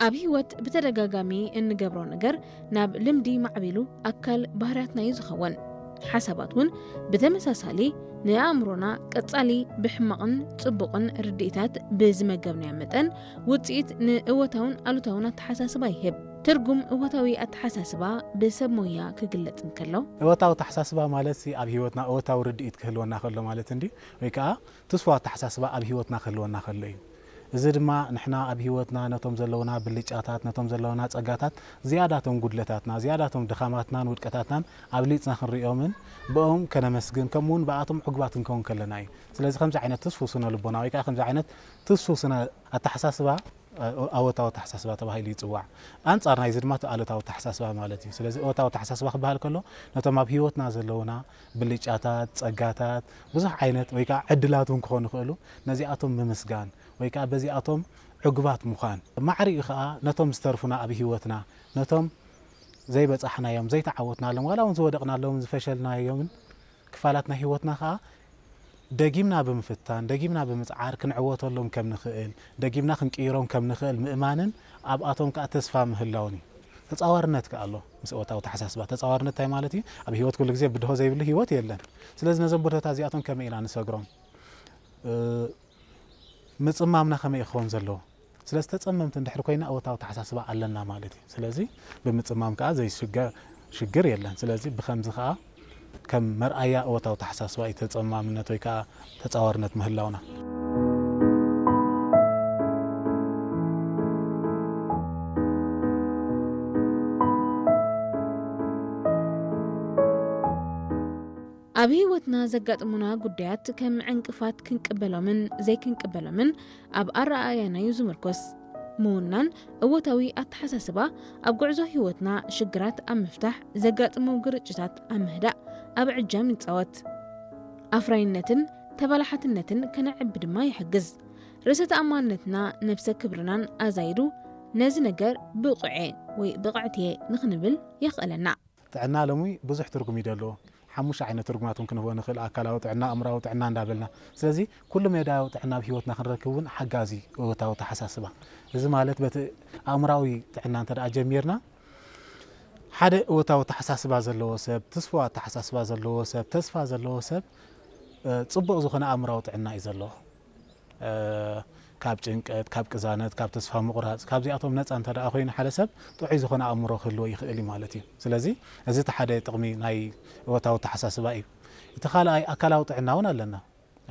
ኣብ ህይወት ብተደጋጋሚ እንገብሮ ነገር ናብ ልምዲ ማዕቢሉ ኣካል ባህርያትና እዩ ዝኸውን። ሓሳባት እውን ብተመሳሳሊ ንኣእምሮና ቀጻሊ ብሕማቕን ጽቡቕን ርድኢታት ብዝመገብናዮ መጠን ውጽኢት ንእወታውን ኣሉታውን ኣተሓሳስባ ይህብ። ትርጉም እወታዊ ኣተሓሳስባ ብሰብ ሞያ ክግለጽ እንከሎ፣ እወታዊ ኣተሓሳስባ ማለት ኣብ ህይወትና እወታዊ ርድኢት ክህልወና ከሎ ማለት እንዲ ወይ ከዓ ትስፉ ኣተሓሳስባ ኣብ ህይወትና ክህልወና ከሎ እዩ። እዚ ድማ ንሕና ኣብ ህይወትና ነቶም ዘለውና ብልጫታት፣ ነቶም ዘለውና ጸጋታት ዝያዳቶም ጉድለታትና፣ ዝያዳቶም ድኻማትናን ውድቀታትናን ኣብሊጽና ክንሪኦምን ብኦም ከነመስግን ከምኡ እውን ብኣቶም ዕጉባት ክንከውን ከለና እዩ። ስለዚ ከምዚ ዓይነት ትስፉ ስነ ልቦና ወይ ከዓ ከምዚ ዓይነት ትስፉ ስነ ኣተሓሳስባ ኣወታዊ ኣተሓሳስባ ተባሂሉ ይፅዋዕ። ኣንፃር ናይዚ ድማ እቲ ኣሉታዊ ኣተሓሳስባ ማለት እዩ። ስለዚ እወታዊ ኣተሓሳስባ ክበሃል ከሎ ነቶም ኣብ ህይወትና ዘለውና ብልጫታት፣ ፀጋታት፣ ብዙሕ ዓይነት ወይ ከዓ ዕድላት እውን ክኾኑ ይኽእሉ ነዚኣቶም ምምስጋን ወይ ከዓ በዚኣቶም ዕጉባት ምዃን። ማዕሪኡ ከዓ ነቶም ዝተርፉና ኣብ ህይወትና ነቶም ዘይበፃሕናዮም ዘይተዓወትናሎም ዋላ እውን ዝወደቕናሎምን ዝፈሸልናዮምን ክፋላት ናይ ህይወትና ከዓ ደጊምና ብምፍታን ደጊምና ብምፅዓር ክንዕወተሎም ከም ንኽእል ደጊምና ክንቅይሮም ከም ንኽእል ምእማንን ኣብኣቶም ከዓ ተስፋ ምህላውን እዩ። ተፃዋርነት ከዓ ኣሎ ምስ እወታዊ ተሓሳስባ። ተፃዋርነት እንታይ ማለት እዩ? ኣብ ህይወት ኩሉ ግዜ ብድሆ ዘይብሉ ህይወት የለን። ስለዚ ነዞም ብድሆታት እዚኣቶም ከመይ ኢና ንሰግሮም? ምፅማምና ከመይ ክኸውን ዘለዎ? ስለዚ ተፀመምቲ እንድሕር ኮይና እወታዊ ተሓሳስባ ኣለና ማለት እዩ። ስለዚ ብምፅማም ከዓ ዘይሽገር ሽግር የለን። ስለዚ ብከምዚ ከዓ ከም መርኣያ እወታዊ ተሓሳስባ እዩ ተፀማምነት ወይ ከዓ ተፃዋርነት ምህላውና። ኣብ ህይወትና ዘጋጥሙና ጉዳያት ከም ዕንቅፋት ክንቅበሎምን ዘይክንቅበሎምን ኣብ ኣረኣእያና እዩ ዝምርኮስ። ምውናን እወታዊ ኣተሓሳስባ ኣብ ጉዕዞ ህይወትና ሽግራት ኣብ ምፍታሕ፣ ዘጋጥሙ ግርጭታት ኣብ ምህዳእ ኣብ ዕጃም ይጻወት። ኣፍራይነትን ተባላሓትነትን ከነዕቢ ድማ ይሕግዝ። ርእሰ ተኣማንነትና ነብሰ ክብርናን ኣዛይዱ ነዚ ነገር ብቑዕ ወይ ብቕዕት እየ ንኽንብል የኽእለና። ጥዕና ሎሚ ብዙሕ ትርጉም እዩ ደለዎ። ሓሙሽተ ዓይነት ትርጉማት እውን ክንህቦ ንኽእል፣ ኣካላዊ ጥዕና፣ ኣእምራዊ ጥዕና እንዳበልና። ስለዚ ኩሉ መዳያዊ ጥዕና ኣብ ህይወትና ክንረክብ እውን ሓጋዚ እወታዊ ተሓሳስባ። እዚ ማለት በቲ ኣእምራዊ ጥዕና እንተ ደኣ ጀሚርና ሓደ እወታዊ ተሓሳስባ ዘለዎ ሰብ፣ ትስፉ ኣተሓሳስባ ዘለዎ ሰብ፣ ተስፋ ዘለዎ ሰብ ጽቡቕ ዝኾነ ኣእምራዊ ጥዕና እዩ ዘለዎ። ካብ ጭንቀት፣ ካብ ቅዛነት፣ ካብ ተስፋ ምቑራፅ፣ ካብዚኣቶም ነፃ እንተ ደኣ ኮይኑ ሓደ ሰብ ጥዑይ ዝኾነ ኣእምሮ ክህልዎ ይኽእል እዩ ማለት እዩ። ስለዚ እዚ እቲ ሓደ ጥቕሚ ናይ እወታዊ ኣተሓሳስባ እዩ። እቲ ካልኣይ ኣካላዊ ጥዕና እውን ኣለና።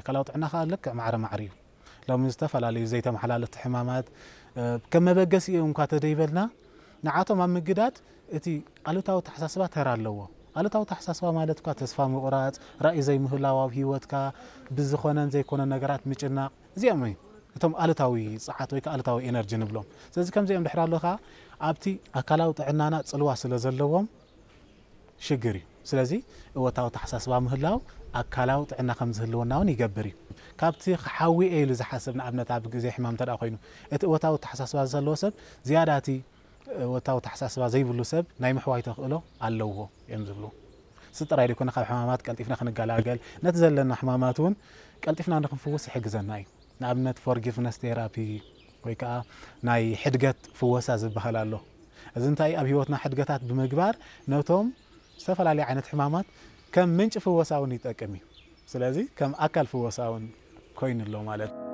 ኣካላዊ ጥዕና ከዓ ልክዕ ማዕረ ማዕሪ እዩ። ሎሚ ዝተፈላለዩ ዘይተመሓላለፍቲ ሕማማት ከም መበገሲኡ እንኳ ተደይበልና ንዓቶም ኣብ ምግዳድ እቲ ኣሉታዊ ኣተሓሳስባ ተራ ኣለዎ። ኣሉታዊ ኣተሓሳስባ ማለት እኳ ተስፋ ምቑራፅ፣ ራእይ ዘይምህላው ኣብ ህይወትካ፣ ብዝኾነን ዘይኮነን ነገራት ምጭናቕ፣ እዚኦም እዮም እቶም ኣሉታዊ ፀዓት ወይ ከዓ ኣሉታዊ ኤነርጂ ንብሎም። ስለዚ ከምዚኦም ድሕር ኣሎ ከዓ ኣብቲ ኣካላዊ ጥዕናና ፅልዋ ስለ ዘለዎም ሽግር እዩ። ስለዚ እወታዊ ኣተሓሳስባ ምህላው ኣካላዊ ጥዕና ከም ዝህልወና እውን ይገብር እዩ። ካብቲ ክሓዊ እየ ኢሉ ዝሓስብ ንኣብነት ኣብ ግዜ ሕማም እንተ ኮይኑ እቲ እወታዊ ኣተሓሳስባ ዘለዎ ሰብ ዝያዳ እቲ እወታዊ ኣተሓሳስባ ዘይብሉ ሰብ ናይ ምሕዋይ ተኽእሎ ኣለዎ እዮም ዝብሉ። እዚ ጥራይ ዘይኮነ ካብ ሕማማት ቀልጢፍና ክንገላገል ነቲ ዘለና ሕማማት እውን ቀልጢፍና ንክንፍውስ ይሕግዘና እዩ። ንኣብነት ፎርጊቭነስ ቴራፒ ወይ ከዓ ናይ ሕድገት ፍወሳ ዝበሃል ኣሎ። እዚ እንታይ ኣብ ህይወትና ሕድገታት ብምግባር ነቶም ዝተፈላለዩ ዓይነት ሕማማት ከም ምንጪ ፍወሳ እውን ይጠቅም እዩ። ስለዚ ከም ኣካል ፍወሳ እውን ኮይኑ ኣሎ ማለት እዩ።